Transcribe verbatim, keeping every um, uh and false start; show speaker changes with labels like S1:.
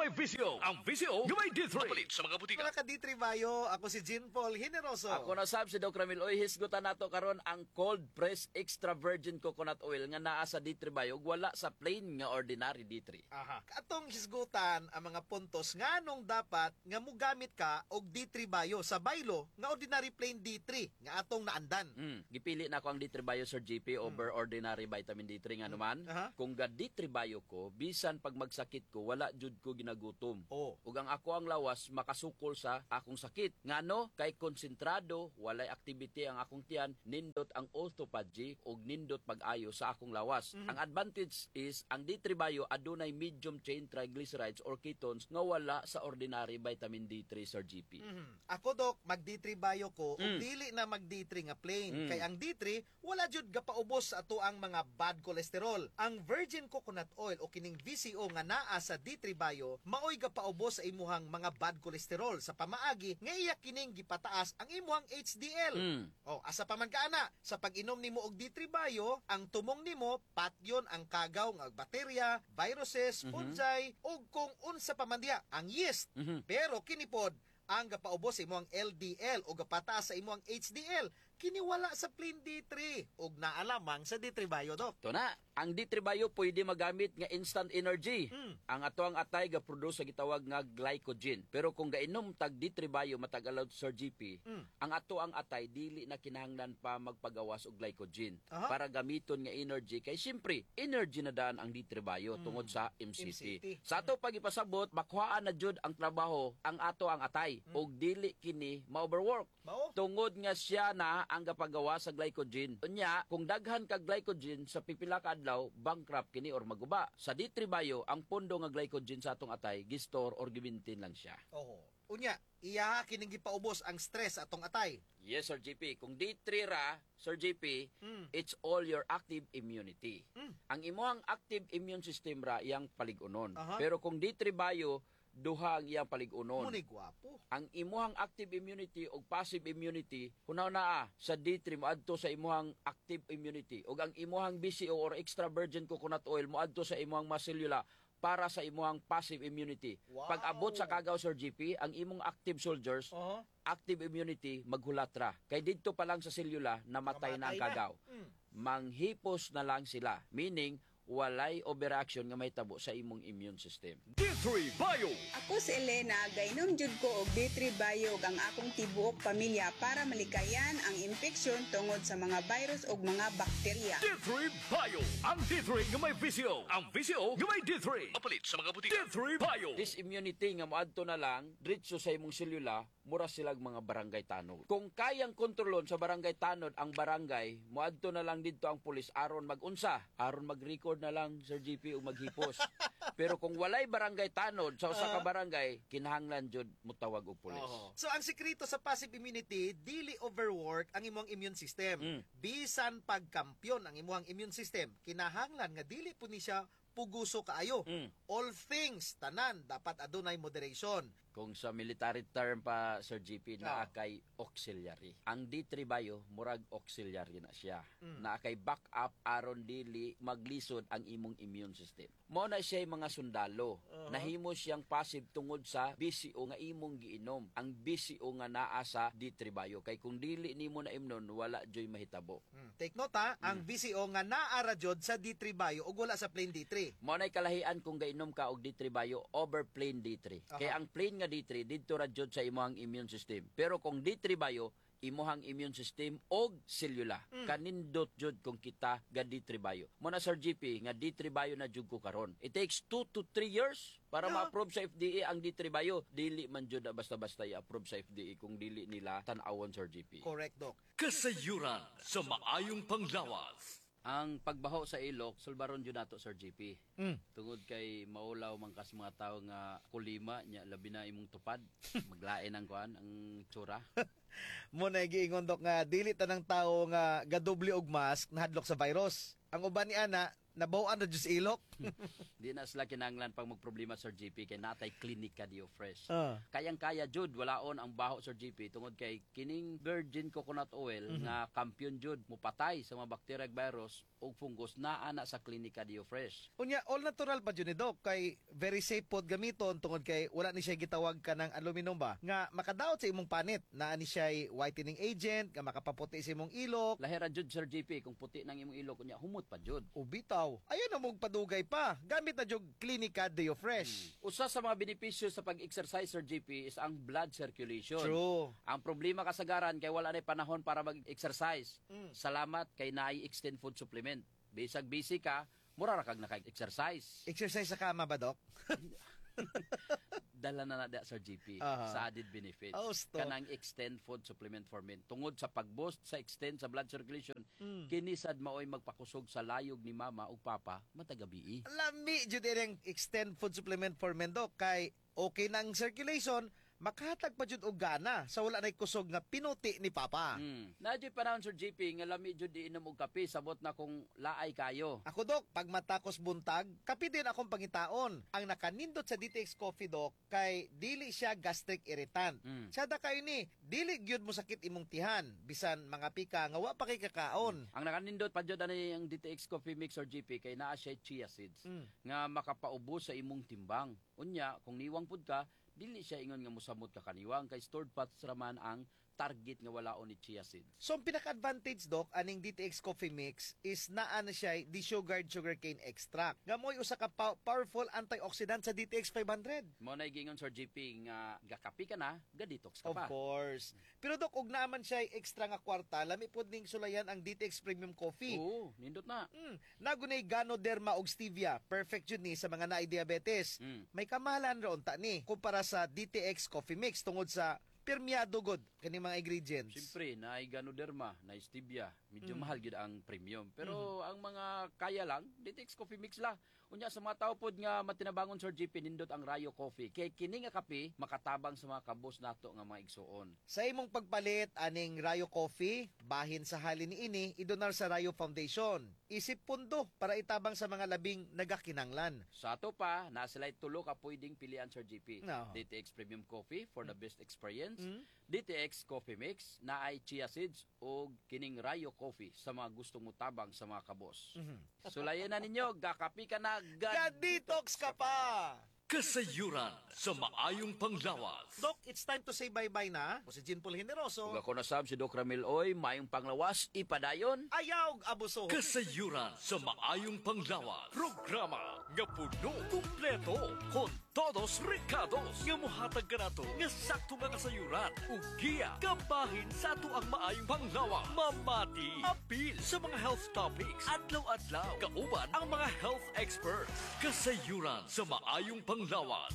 S1: may V C O. Ang V C O nga may D three. Mapalit sa mga butika.
S2: Mga ka-D three Bio, ako si Jean Paul Generoso.
S3: Ako na sab si Doc Ramil. Oy, hisgutan nato karon ang cold press extra virgin coconut oil nga naa sa D three Bio ug wala sa plain nga ordinary D three.
S2: Aha. Atong hisgutan ang mga puntos nganong dapat nga mugamit ka og D three Bio sa baylo nga ordinary plain D three nga atong naandan.
S3: Mm, gipili na ko ang D three Bio, Sir J P, over ordinary vitamin D three, nga naman.
S2: Aha.
S3: Kung ga D three Bio ko, bisan pag magsakit ko, wala jud ko ginagutom.
S2: Oh.
S3: Ug ang ako ang lawas makasukol sa akong sakit. Ngano kay konsentrado, walay activity ang akong tiyan, nindot ang autophagy ug nindot pag-ayo sa akong lawas. Ang advantage is ang D three Bio adunay medium chain triglycerides or ketones nga wala sa ordinary vitamin D three, Sir J P.
S2: Mhm. Ako, Dok, mag D three Bio ko ug
S3: Mm.
S2: dili na mag D three nga plain
S3: Mm.
S2: kay ang D three wala jud gapaubos sa ato ang mga bad cholesterol. Ang virgin coconut oil o kining V C O nga naa sa D three Bio maoy gapaubos sa imuhang mga bad cholesterol sa pamaagi nga iya kining gipataas ang imuhang H D L.
S3: Mm.
S2: Oh, asa pa man kaana sa pag-inom nimo og D three Bio, ang tumong nimo patyon ang kagaw nga bakterya, viruses, fungi ug kung unsa pa man diha, ang yeast.
S3: Mhm.
S2: Pero kini pod ang gapaubos sa imong L D L o gapataas sa imong H D L. Kini wala sa plain D three ug naa lamang sa D three Bio, Dok.
S3: Ito na, ang D three Bio pwede magamit nga instant energy.
S2: Mm.
S3: Ang ato ang atay ga-produce sa gitawag nga glycogen. Pero kung gainom tag D three Bio matag adlaw, Sir J P,
S2: Mm.
S3: ang ato ang atay dili na kinahanglan pa magpagawas og glycogen
S2: Aha.
S3: para gamiton nga energy kay siyempre energy na daan ang D three Bio tungod sa M C T.
S2: M C T.
S3: Sa ato pagipasabot, makuhaan na jud ang trabaho ang ato ang atay ug dili kini ma-overwork.
S2: Mao?
S3: Tungod nga siya na ang gapagawa sa glycogen. Unya, kung daghan ka glycogen sa pipila ka adlaw, bankrupt kini or maguba. Sa D three Bio, ang pondo nga glycogen sa atong atay, gi-store or gimintin lang siya.
S2: Oho. Unya, iyaha kining gipaubos ang stress atong atay.
S3: Yes, Sir J P. Kung D three ra, Sir J P,
S2: Mm.
S3: it's all your active immunity.
S2: Mm.
S3: Ang imuhang active immune system ra iyang paligunon.
S2: Aha.
S3: Pero kung D three Bio, duha ang iyang paligunon.
S2: Muni gwapo.
S3: Ang imuhang active immunity o passive immunity, hunaw na ah, sa D three moadto sa imuhang active immunity ug ang imuhang V C O or extra virgin coconut oil moadto sa imuhang mga selula para sa imuhang passive immunity.
S2: Wow.
S3: Pag abot sa kagaw, Sir J P, ang imong active soldiers,
S2: Oho.
S3: active immunity, maghulat ra. Kay didto pa lang sa selula, namatay na ang
S2: Namatay na.
S3: kagaw.
S2: Mm.
S3: Manghipos na lang sila. Meaning, walay overreaction nga mahitabo sa imong immune system.
S1: D three Bio.
S4: Ako si Elena, gainom jud ko og D three Bio ug ang akong tibuok pamilya para malikayan ang impeksyon tungod sa mga virus ug mga bakterya.
S1: D three Bio. Ang D three nga may V C O. Ang V C O nga may D three. Mapalit sa mga butika. D three Bio.
S3: This immunity nga moadto na lang diretso sa imong selula, mura silag mga barangay tanod. Kung kayang kontrolon sa barangay tanod ang barangay, moadto na lang didto ang pulis aron magunsa, aron mag-record na lang, Sir J P, ug maghipos. Pero kung walay barangay tanod sa usa ka barangay, kinahanglan jud motawag og pulis.
S2: Oho. So ang sekreto sa passive immunity, dili overwork ang imong immune system.
S3: Mm.
S2: Bisan pagkampyon ang imong immune system, kinahanglan nga dili po ni siya puguso kaayo.
S3: Mm.
S2: All things tanan dapat adunay moderation.
S3: Kung sa military term pa, Sir J P, naa
S2: Ah.
S3: kay auxiliary. Ang D three Bio, murag auxiliary na siya.
S2: Mm.
S3: Naa kay backup aron dili maglisod ang imong immune system. Mao na siya mga sundalo.
S2: Uh-huh.
S3: Nahimo siyang passive tungod sa V C O nga imong giinom. Ang V C O nga naa sa D three Bio. Kay kung dili nimo na imnon, wala joy mahitabo.
S2: Mm. Take note ha, ang V C O nga naa ra jud sa D three Bio ug wala sa plain D three.
S3: Mao na'y kalahian kung gainom ka og D three Bio over plain D three.
S2: Aha.
S3: Kaya ang plain nga D three didto ra jud sa imong immune system. Pero kung D three Bio, imuhang immune system og selula.
S2: Mm.
S3: Kanindot jud kung kita ga D three Bio. Mo na, Sir J P, nga D three Bio na jud ko karon. It takes two to three years para
S2: Yeah.
S3: ma-approve sa F D A ang D three Bio. Dili man jud na basta-basta i-approve sa F D A kung dili nila tan-awon, Sir J P.
S2: Correct, Doc.
S1: Kasayuran sa maayong panglawas.
S3: Ang pagbaho sa ilok, sulbaron jud nato, Sir J P.
S2: Mm.
S3: Tungod kay maulaw man kas mga tao nga kulima nya, labi na imong tupad, maglain ang kuan, ang tsura.
S2: Mo na giingon, Dok, nga dili tanang tao nga gadoble og mask nahadlok sa virus. Ang uban ni ana nabaw-an na jud sa ilok.
S3: Di na sila kinahanglan pang magproblema, Sir J P, kay natay klinika Dio Fresh.
S2: Ah.
S3: Kayang-kaya jud walaon ang baho, Sir J P, tungod kay kining virgin coconut oil nga kampiyon jud mupatay sa mga bakterya ug virus. ug fungus naa na sa Klinika Dio Fresh.
S2: Unya, all natural pa jud ni, Doc, kay very safe pod gamiton tungod kay wala ni siya gitawag kanang aluminum ba nga makadaot sa imong panit. Naa ni siya whitening agent nga makapaputi sa imong ilok.
S3: Lahera jud, Sir J P, kung puti nang imong ilok unya humot pa jud.
S2: O bitaw. Ayaw na mong padugay pa. Gamit na jud Klinika Deo Fresh.
S3: Usa sa mga benepisyo sa pag-exercise, Sir J P, is ang blood circulation.
S2: True.
S3: Ang problema kasagaran kay wala na panahon para mag-exercise.
S2: Mm.
S3: Salamat kay naay Extend Food Supplement. Bisag busy ka, mura ra kag naka-exercise.
S2: Exercise sa kama ba, Doc?
S3: Dala na na da, Sir J P,
S2: Aha.
S3: sa added benefits.
S2: Oh, sto.
S3: Kanang Extend Food Supplement for Men. Tungod sa pag-boost sa extend sa blood circulation,
S2: Mm.
S3: kini sad maoy magpakusog sa layog ni mama ug papa matag gabii.
S2: Lami jud ining Extend Food Supplement for Men, Doc, kay okay na ang circulation, makahatag pa jud og gana sa wala nay kusog nga pinuti ni papa.
S3: Mm. Naa juy panahon, Sir J P, nga lami jud inom og kape, sabot na kung laay kayo.
S2: Ako, Dok, pag matakos buntag, kape din akong pangitaon. Ang nakanindot sa D T X Coffee, Dok, kay dili siya gastric irritant.
S3: Mm.
S2: Sada kayo ni, dili gyud mo sakit imong tihan, bisan mga pika nga wa pa kay kakaon.
S3: Ang nakanindot pa jud ani ang D T X Coffee Mix, Sir J P, kay naa siya chia seeds
S2: Mm.
S3: nga makapaubos sa imong timbang. Unya, kung niwang pud ka, dili siya ingon nga mosamot ka kaniwang kay stored fats raman ang target nga walaon ni chia seeds.
S2: So ang pinaka-advantage, Doc, aning D T X Coffee Mix is naa na siya desugared sugarcane extract. Nga mo'y usa ka pow- powerful antioxidant sa D T X five hundred.
S3: Mao na gingon, Sir J P, nga gakapi ka na, ga-detox ka
S2: Of
S3: pa.
S2: course. Pero Doc, og naaman siya extra nga kwarta, lami pod ning sulayan ang D T X Premium Coffee.
S3: Oo, nindot na.
S2: Mm, nagunay Ganoderma og stevia. Perfect jud ni sa mga naay diabetes.
S3: Mm.
S2: May kamahalan ra unta ni kumpara sa D T X Coffee Mix tungod sa pirmyado gud kini mga ingredients.
S3: Siyempre, naay Ganoderma, naay stevia, medyo
S2: Mm.
S3: mahal gyud ang premium. Pero ang mga kaya lang, D T X Coffee Mix la. Unya sa mga tao pod nga matinabangon, Sir J P, nindot ang Rayo Coffee. Kay kini nga kape makatabang sa mga kabos nato nga mga igsuon.
S2: Sa imong pagpalit aning Rayo Coffee, bahin sa halin niini idonar sa Rayo Foundation. Isip pundo para itabang sa mga labing nagakinanglan.
S3: Sa ato pa, naa sila'y tulo ka pwedeng pilian, Sir J P.
S2: No.
S3: D T X Premium Coffee for the best experience.
S2: Mm.
S3: D T X Coffee Mix na ay chia seeds o kining Rayo Coffee sa mga gustong mutabang sa mga kabos.
S2: Mhm.
S3: Sulayan na ninyo, gakapi ka na,
S2: Ga-detox ka pa!
S1: Kasayuran sa maayong panglawas.
S2: Doc, it's time to say bye-bye na. O si Jean Paul Generoso.
S3: Ug ako na sab si Doc Ramil Oy, maayong panglawas, ipadayon.
S2: Ayaw abuso.
S1: Kasayuran sa maayong panglawas. Programa nga puno kumpleto con todos recados nga muhatag kanato nga sakto nga kasayuran ug giya kabahin sa ato ang maayong panglawas. Mamati apil sa mga health topics adlaw-adlaw kauban ang mga health experts. Kasayuran sa maayong panglawas.